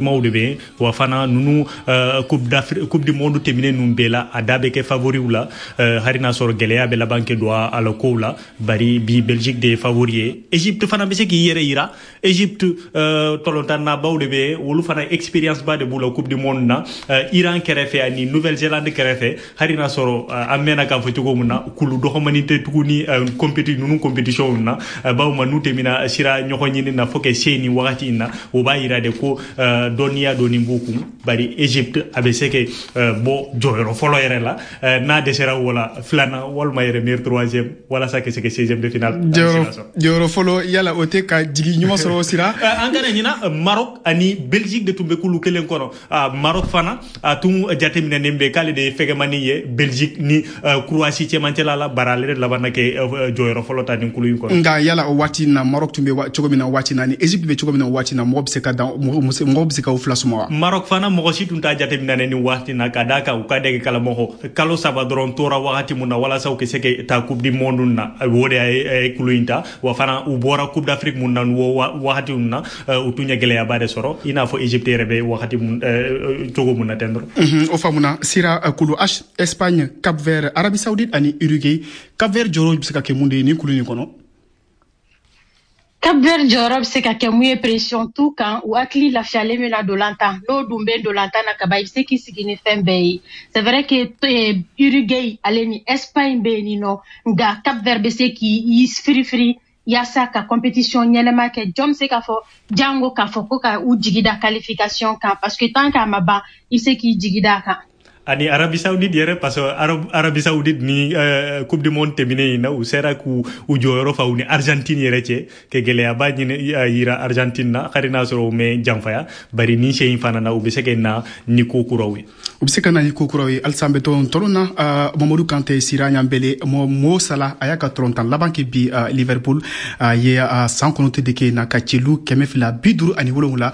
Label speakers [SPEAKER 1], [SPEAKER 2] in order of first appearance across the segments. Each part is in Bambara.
[SPEAKER 1] Maw de bɛ, wa fana ninnu Coupe d'Afrique, Coupe du monde tɛmɛnen ninnu bɛɛ la, a da bɛ kɛ favoriw la, hali n'a sɔrɔ gɛlɛya bɛ laban kɛ don a la kow la. Bari bi Belgique de ye favori ye. Egypte fana bɛ se k'i yɛrɛ yira. Egypte tɔlɔntannabaw de bɛ, olu fana expérience ba de b'u la Coupe du monde na, Iran kɛrɛfɛ ani Nouvelle-Zélande kɛrɛfɛ. Hali n'a sɔrɔ an mɛnna k'a fɔ cogo min na, kulu dɔgɔmani tɛ tuguni ninnu compétition na, bawo ma n'u tɛmɛna sira ɲɔgɔn ɲini na fo ka se nin wagati in na, o b'a yira de ko dɔnniya dɔɔni b'u kun. Bari Egypte a bɛ se ka bɔ jɔyɔrɔ fɔlɔ yɛrɛ la, n'a dɛsɛra o la, filanan walima yɛrɛ meilleur troisième, walasa ka se ka 16e de finale.
[SPEAKER 2] Jɔyɔrɔ fɔlɔ, yala o tɛ ka jigi ɲuman sɔrɔ o sira?
[SPEAKER 1] An kana ɲina, Maroc ani Belgique de tun bɛ kulu kelen kɔnɔ. Maroc fana a tun jateminɛnen bɛ k'ale de ye fɛgɛmani ye Belgique ni Croatie cɛmancɛla la, bari ale de labanna kɛ jɔyɔrɔ fɔlɔ ta nin kulu in kɔnɔ.
[SPEAKER 2] Nka yala o waati na, Maroc tun bɛ cogo min na waati na, ni Egypte bɛ cogo min na waati na, mɔgɔ bɛ se ka dan, mɔgɔ bɛ se ka o fila suma wa?
[SPEAKER 1] Maroc fana, mɔgɔ si tun t'a jateminɛ ni waati na, ka d'a kan u ka dege kalamɔgɔ kalo 3 dɔrɔn tora wagati mun na walasa u ka se ka taa Coupe du monde na, o de ye kulu in ta. Wa fana u bɔra Coupe d'Afrique mun na o wagati mun na, u tun ye gɛlɛyaba de sɔrɔ, i n'a fɔ Egypte yɛrɛ bɛ wagati mun cogo mun na ten dɔrɔn.
[SPEAKER 2] O faamuna. Sira, kulu H, Espagne, Cap Vert, Arabie Saoudite ani Uruguay. Cap Vert jɔyɔrɔ bɛ se ka kɛ mun de ye nin kulu nin kɔnɔ?
[SPEAKER 3] Cap Vert jɔyɔrɔ bɛ se ka kɛ mun ye? Pression t'u kan, u hakili lafiyalen bɛ na dolantan. N'o dun bɛ dolantan na kaban, i bɛ se k'i sigi ni fɛn bɛɛ ye. C'est vrai que Uruguay ale ni Espagne bɛ yen nɔ, nka Cap Vert bɛ se k'i firifiri yaasa ka compétition ɲɛnɛma kɛ. Jɔn bɛ se k'a fɔ jango k'a fɔ ko ka u jigi da qualification kan? Parce que tant qu'a ma ban, i bɛ se k'i jigi da a kan.
[SPEAKER 1] Ani Arabie Saoudite yɛrɛ, parce que Arabie Saoudite ni Coupe du monde tɛmɛnen in na, u sera k'u u jɔyɔrɔ fa u ni Argentine yɛrɛ cɛ, ka gɛlɛyaba ɲini yira Argentine na, hali n'a sɔrɔ u mɛ janfaya. Bari ni sen in fana na, u bɛ se ka na ni ko kuraw ye.
[SPEAKER 2] U bɛ se ka na ni ko kuraw ye. Halisa an bɛ to tɔlɔn na. Mamadu Kante, Sira Ɲanbele, Mo Salah a y'a ka tɔlɔntan laban kɛ bi Liverpool ye, san 9 de kɛ na ka celu 257.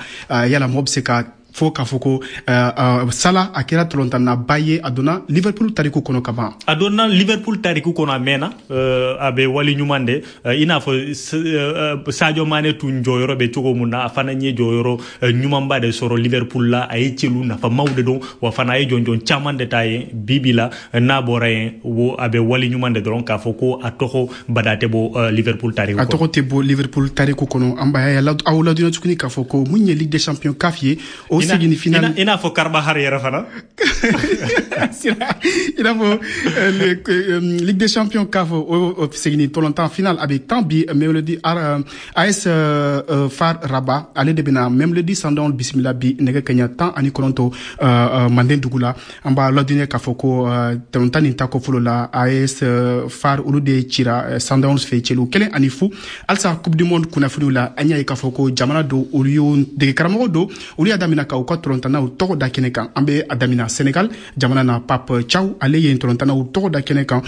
[SPEAKER 2] Yala mɔgɔ bɛ se ka fo k'a fɔ ko Salah a kɛra tɔlɔntannaba ye, a donna Liverpool tariku kɔnɔ ka ban?
[SPEAKER 1] A donna Liverpool tariku kɔnɔ, a mɛnna, a bɛ wali ɲuman de, i n'a fɔ Sadio Mane tun jɔyɔrɔ bɛ cogo mun na, a fana ye jɔyɔrɔ ɲumanba de sɔrɔ Liverpool la. A ye celu nafamaw de don, wa fana a ye jɔnjɔn caman de ta yen. Bi bi la, n'a bɔra yen, wo a bɛ wali ɲuman de dɔrɔn k'a fɔ ko a tɔgɔ bada tɛ bɔ Liverpool tariku.
[SPEAKER 2] A tɔgɔ tɛ bɔ Liverpool tariku kɔnɔ. An b'a aw ladɔnniya tuguni k'a fɔ ko mun ye Ligue des champions CAF ye, o segin finale.
[SPEAKER 1] I n'a fɔ Carvajal yɛrɛ fana.
[SPEAKER 2] I n'a fɔ Ligue des champions CAF, o segin tɔlɔntan final a bɛ tan bi. Mamelodi AS FAR Rabat, ale de bɛna Mamelodi Sundowns bisimila bi nɛgɛ kaɲa 19 Manden dugu la. An b'a ladɔnniya k'a fɔ ko tɔlɔntan nin tako fɔlɔ la, AS FAR olu de cira Sundowns fɛ celu 1-0. Halisa Coupe du monde kunnafoniw la, an y'a ye k'a fɔ ko jamana dɔ, olu y'o dege karamɔgɔ dɔ, olu y'a daminɛ ka u ka tɔlɔntannaw tɔgɔ da kɛnɛ kan. An bɛ a daminɛ Sénégal jamana na. Pape Thiaw, ale ye tɔlɔntannaw tɔgɔ da kɛnɛ kan,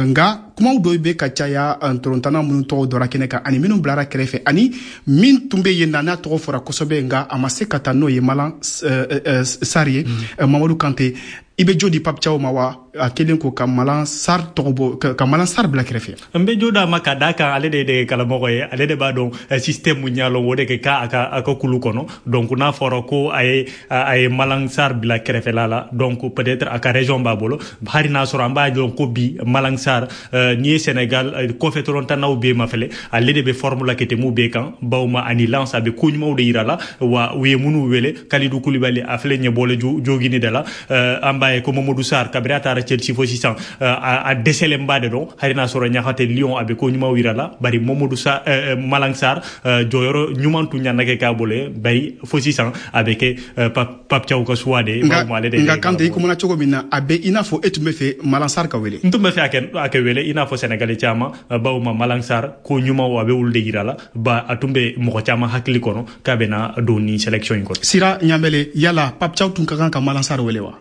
[SPEAKER 2] nka kumaw dɔw bɛ ka caya tɔlɔntanna minnu tɔgɔ dɔra kɛnɛ kan ani minnu bilara kɛrɛfɛ, ani min tun bɛ yen na n'a tɔgɔ fɔra kosɛbɛ nka a ma se ka taa, n'o ye Malang Sarr ye. Mamadu Kante, i bɛ jo di Pape Thiaw ma wa, a kelen ko ka Malang Sarr tɔgɔ bɔ, ka Malang Sarr bila kɛrɛfɛ?
[SPEAKER 1] N bɛ jo d'a ma, ka d'a kan ale de ye dege karamɔgɔ ye, ale de b'a dɔn système mun ɲa lɔn o de kɛ k'a a ka kulu kɔnɔ. Donc n'a fɔra ko a ye Malang Sarr bila kɛrɛfɛla la, donc peut-être a ka raison b'a bolo, hali n'a sɔrɔ an b'a dɔn ko bi Malang Sarr, n'i ye Sénégal kɔfɛ tɔlɔntannaw bɛɛ ma fɛlɛ, ale de bɛ forme la ka tɛmɛ u bɛɛ kan, bawo ma ani Lens a bɛ ko ɲumanw de yira la. Wa u ye minnu wele, Kalidou Koulibaly a filɛ ɲɛbɔlen jogini de la. An b'a ye ko Mamadou Sarr, kabini a taara Chelsea fo sisan, a dɛsɛlenba de don, hali n'a sɔrɔ ɲaga Lyon a bɛ ko ɲumanw yira la. Bari Mamadou Sarr, Malang Sarr jɔyɔrɔ ɲuman tun ɲana kɛ k'a bolo ye, bari fo sisan a bɛ kɛ Pape Thiaw ka choix de ye.
[SPEAKER 2] Nka Kante, i kumana cogo min na, a bɛ i n'a fɔ e tun bɛ fɛ Malang Sarr ka wele.
[SPEAKER 1] N tun bɛ fɛ a kɛ wele, i n'a fɔ Sénégalais caman, bawo ma Malang Sarr ko ɲumanw a bɛ olu de yira la, ba a tun bɛ mɔgɔ caman hakili kɔnɔ k'a bɛna don ni sélection in kɔnɔ.
[SPEAKER 2] Sira Ɲanbele, yala Pape Thiaw tun ka kan ka Malang Sarr wele wa?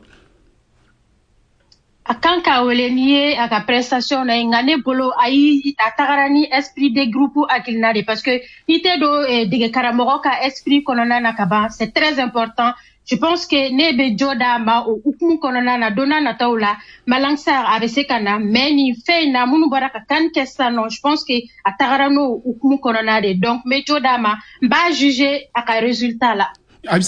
[SPEAKER 3] A kan k'a wele n'i ye a ka prestation na ye, nka ne bolo ayi, a tagara ni esprit de groupe hakilina de, parce que n'i tɛ don dege karamɔgɔ ka esprit kɔnɔna na ka ban, c'est très important. Je pense que ne bɛ jo d'a ma o hukumu kɔnɔna na. Don n'a nataw la, Malang Sarr a bɛ se ka na, mais nin fɛn in na, minnu bɔra ka kan kɛ sisan nɔ, je pense que a tagara n'o hukumu kɔnɔna de. Donc n bɛ jo d'a ma, n b'a juger a ka résultat la.
[SPEAKER 2] A bɛ se.